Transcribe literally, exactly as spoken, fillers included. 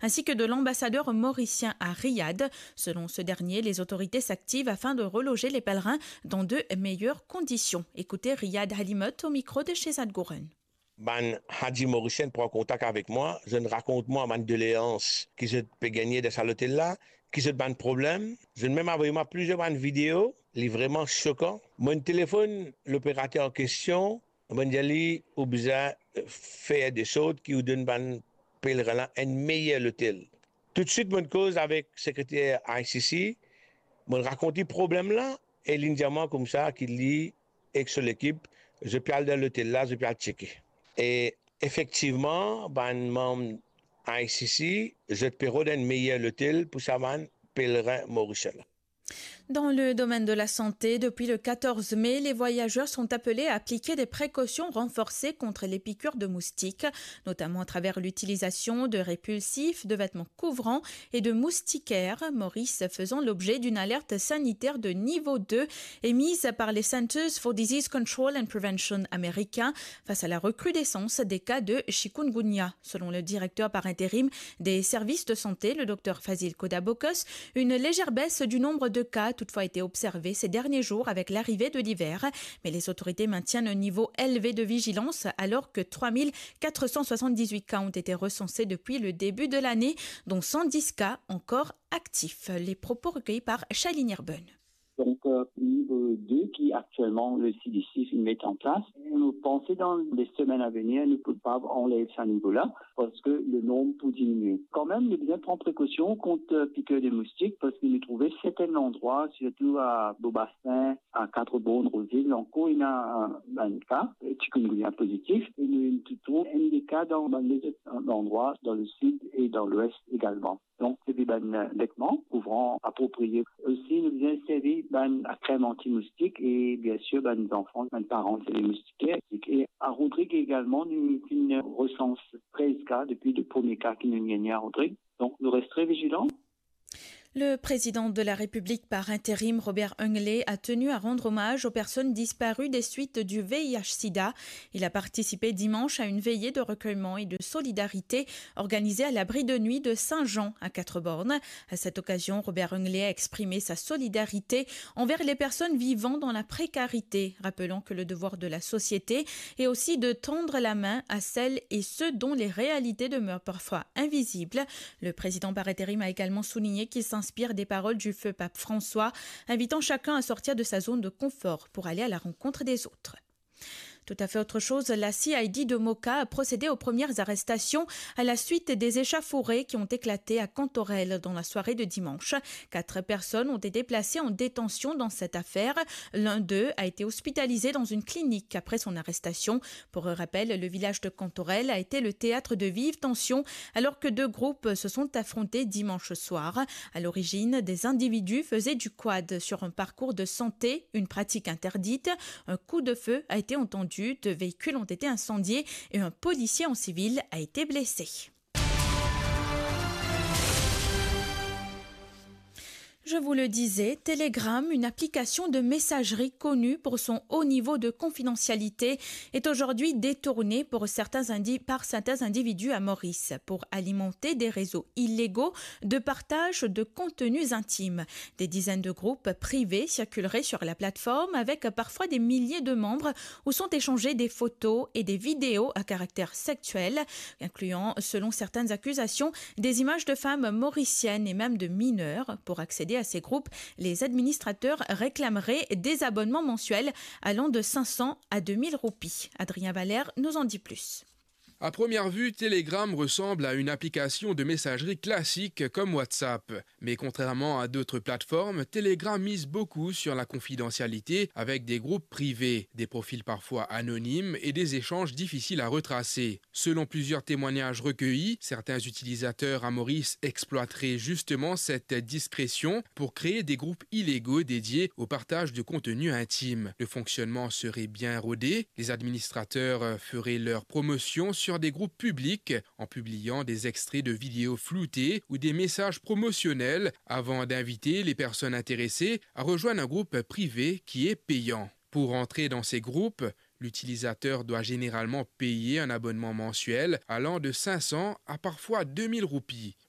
ainsi que de l'ambassadeur mauricien à Riyad. Selon ce dernier, les autorités s'activent afin de reloger les pèlerins dans de meilleures conditions. Écoutez Riyad Halimot au micro de Shehzad Gouren. Bann Haji morisien pran kontak avek mwa, zot rakont mwa bann doleans ki zot pe gagne dan sa lotel la, ki zot bann problem. Zot mem avoy mwa plizier bann video, li vreman sokan. Mo'nn telefonn loperater an kestion, mo'nn dir li, ou bizin fer de sort ki ou donn bann pelerin la enn meyer lotel. Toutswit mo'nn koz avek sekreter I C C, mo'nn rakont li problem la, e li'nn dir mwa koumsa ki li ek so lekip, zot pe al dan lotel la, zot pe al tcheke. E efektivman, bann manm I C C, zot pe rod enn meyer lotel pou sa bann pelerin morisien la. Dans le domaine de la santé, depuis le quatorze mai, les voyageurs sont appelés à appliquer des précautions renforcées contre les piqûres de moustiques, notamment à travers l'utilisation de répulsifs, de vêtements couvrants et de moustiquaires, Maurice faisant l'objet d'une alerte sanitaire de niveau deux émise par les Centers for Disease Control and Prevention américains face à la recrudescence des cas de chikungunya. Selon le directeur par intérim des services de santé, le docteur Fazil Kodabokos, une légère baisse du nombre de cas a toutefois été observée ces derniers jours avec l'arrivée de l'hiver, mais les autorités maintiennent un niveau élevé de vigilance alors que trois mille quatre cent soixante-dix-huit cas ont été recensés depuis le début de l'année, dont cent dix cas encore actifs. Les propos recueillis par Shailene Erben. Donc, euh, niveau deux qui actuellement le C D C met en place. Nou panse dan les semaines à venir, nou pou kapav anlev sa nivo la, parski le nombre pou diminue. Kanmem, nou bizin pran prekausion kont, euh, piqûre de moustique, parski nou trouve serten landrwa, sirtou a Beau-Bassin, a Quatre-Bornes, Rose Hill, ankor ena, euh, bann ka, euh, chikungunya pozitif, e nou, nou trouv enn de ka dan bann lezot landrwa, dan le sud e dan lwes egalman. Donk, servi bann, euh, vetman kouvran apropriye. Osi, nou bizin servi bann krem antimoustik e, bien sir, bann zanfan, bann paran, se le moustiker. E a Rodrig egalman, nou finn resans trez ka depi le premie ka ki nou gagne a Rodrig. Donk, nou res tre vizilan. Le président de la République par intérim, Robert Hungley, a tenu à rendre hommage aux personnes disparues des suites du V I H sida. Il a participé dimanche à une veillée de recueillement et de solidarité organisée à l'abri de nuit de Saint-Jean à Quatre-Bornes. À cette occasion, Robert Hungley a exprimé sa solidarité envers les personnes vivant dans la précarité, rappelant que le devoir de la société est aussi de tendre la main à celles et ceux dont les réalités demeurent parfois invisibles. Le président par intérim a également souligné qu'il s'inspire des paroles du feu pape François, invitant chacun à sortir de sa zone de confort pour aller à la rencontre des autres. Tout à fait autre chose, la C I D de Moka a procédé aux premières arrestations à la suite des échauffourées qui ont éclaté à Cantorel dans la soirée de dimanche. Quatre personnes ont été placées en détention dans cette affaire. L'un d'eux a été hospitalisé dans une clinique après son arrestation. Pour rappel, le village de Cantorel a été le théâtre de vives tensions alors que deux groupes se sont affrontés dimanche soir. À l'origine, des individus faisaient du quad sur un parcours de santé, une pratique interdite. Un coup de feu a été entendu, deux véhicules ont été incendiés et un policier en civil a été blessé. Je vous le disais, Telegram, une application de messagerie connue pour son haut niveau de confidentialité, est aujourd'hui détournée pour certains indi-, par certains individus à Maurice pour alimenter des réseaux illégaux de partage de contenus intimes. Des dizaines de groupes privés circuleraient sur la plateforme avec parfois des milliers de membres où sont échangées des photos et des vidéos à caractère sexuel, incluant, selon certaines accusations, des images de femmes mauriciennes et même de mineurs. Pour accéder à ces groupes, les administrateurs réclameraient des abonnements mensuels allant de cinq cents à deux mille roupies. Adrien Valère nous en dit plus. À première vue, Telegram ressemble à une application de messagerie classique comme WhatsApp. Mais contrairement à d'autres plateformes, Telegram mise beaucoup sur la confidentialité avec des groupes privés, des profils parfois anonymes et des échanges difficiles à retracer. Selon plusieurs témoignages recueillis, certains utilisateurs à Maurice exploiteraient justement cette discrétion pour créer des groupes illégaux dédiés au partage de contenu intime. Le fonctionnement serait bien rodé, les administrateurs feraient leur promotion sur des groupes publics en publiant des extraits de vidéos floutées ou des messages promotionnels avant d'inviter les personnes intéressées à rejoindre un groupe privé qui est payant. Pour entrer dans ces groupes, l'utilisateur doit généralement payer un abonnement mensuel allant de cinq cents à parfois deux mille roupies.